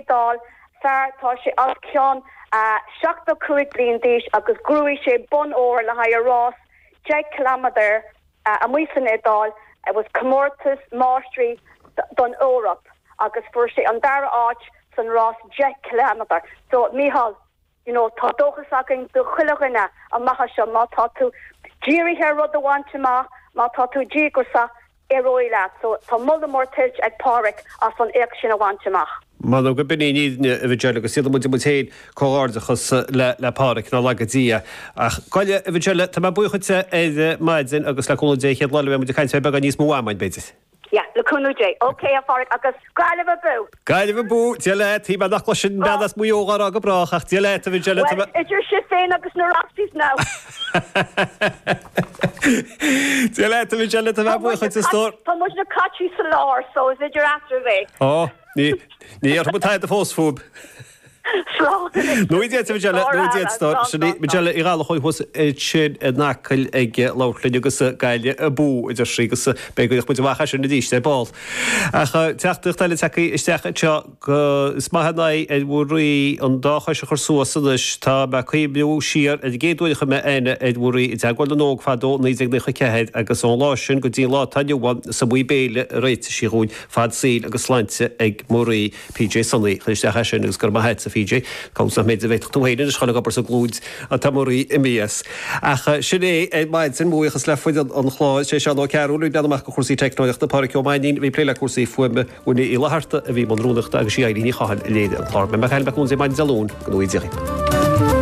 Iodáil, fear, tá sé os cionn 75 bliain d'aois agus ghnóthaigh sé bonn óir le haghaidh a rás 10 ciliméadar amuigh san Iodáil. It was comórtas máistrí don Eoraip agus fuair sé an dara áit san rás 10 ciliméadar. So, Mícheál, you know, tá dóchas againn do chuile dhuine amach anseo, má tá tú dírithe ar rud a bhaint amach, má tá tú díograiseach, éireoidh leat. So, tá moladh mór tuillte ag Páraic as an éacht sin a bhaint amach. M'anam go b'in í an fhírinne, a Mhichelle, agus déanann muid muid féin comhghairdeachas le le Páraic, nár laga Dia. Ach gabh i leith, a Mhichelle, tá mé buíoch dhuitse ar maidin agus le cúnamh Dé an chéad lá eile beidh muid ag caint ar beagán níos mó ama againn, b'fhéidir. Yeah, le cúnamh Dé. Ok, a Pháraic, agus Gaillimh abú! Gaillimh abú! Dia leat! Shíl mé nach gcloisfinn bean as Maigh Eo dhá rá go brách, ach Dia leat, a Mhichelle, tá mé. Well, idir sibh féin agus na Rossies now! Dia leat, a Mhichelle, tá mé buíoch dhuit, a stór. Tá muidne caite sa lár, so is idir eatraibh é. Ó, ní, ní dhéarfaidh muid tada fós fúib. Nó Dia duit, a Mhichelle, nó Dia duit, a stór. Sin í Michelle Uí Ghallchóir thuas ansin in Acaill ag labhairt linn agus Gaillimh abú, a deir sí, agus beidh go muid amach as sin arís ar ball. Ach teachtaireacht eile tagtha isteach anseo go is maith an aghaidh ar Mhuirí an dá chois a chur suas anois. Tá mé ag cuimhniú siar ar an gcéad uair a chuir mé aithne ar Mhuirí i dTeagmháil na nÓg fadó i 1994 agus ón lá sin go dtí an lá atá inniu ann is iomaí béile a réitigh sí dhúinn. Fad saoil agus sláinte ag Muirí. PJ Sonaí, chuir isteach é sin agus go raibh maith a't, a PJ. Cá bhfios nach mb'fhéidir go bhféadfadh tú féin anois a dhul ag obair sa gClúid tá Muirí imithe as. Ach sin é ar maidin, mo bhuíochas le foireann an chláir, sé Seán Ó Cearúil a bhí ag breathnú amach do chúrsaí teicneolaíochta, Pádraic Ó Mainnín a bhí ag plé le cúrsaí fuaime, Winnie Uí Fhlatharta a bhí i mbun rúnaíochta agus sí Eilín Ní Chathail a léirigh an clár. Beidh mé ag caint le cúnamh Dé maidin Dé Luain, go ngnóthaí Dia dhaoibh.